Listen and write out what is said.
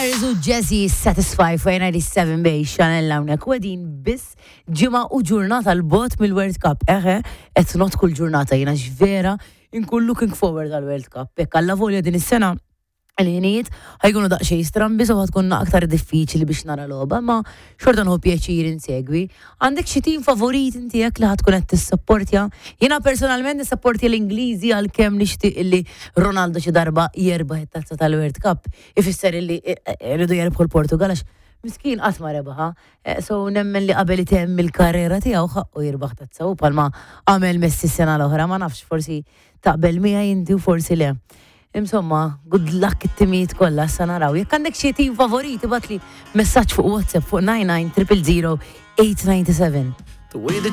Erzu Jazzy Satisfy fuq 97 bej Chanel hawnhekk u qegħdin biss ġimgħa u ġurnata l-bot mill-World Cup. Eħe, qed not kull ġurnata jiena vera inkun looking forward għal-World Cup. Hekk alla volja din is-sena il-ħinijiet ħajkunu daqsxejn strambi so tkun aktar diffiċli biex nara logħba, ma xorta nħu pjaċir insegwi. Għandek xi tim favorit inti jekk li ħa tkun qed tissapportja? Jiena personalment nissapportja l-Ingliżi għalkemm nixtieq illi Ronaldo xi darba jerbaħ it-tazza tal-World Cup. Ifisser illi rridu jerbħu l-Portugal għax miskin qatt ma rebaħa. So nemmen li qabel itemm il-karriera tiegħu ħaqqu jirbaħ tazza u palma għamel Messi s-sena l-oħra, ma nafx forsi taqbel miegħi inti u forsi le. Insomma, good luck it-timijiet kollha sa naraw. Jekk għandek xi tim favoriti ibgħatli messaġġ fuq WhatsApp fuq 99 000 897.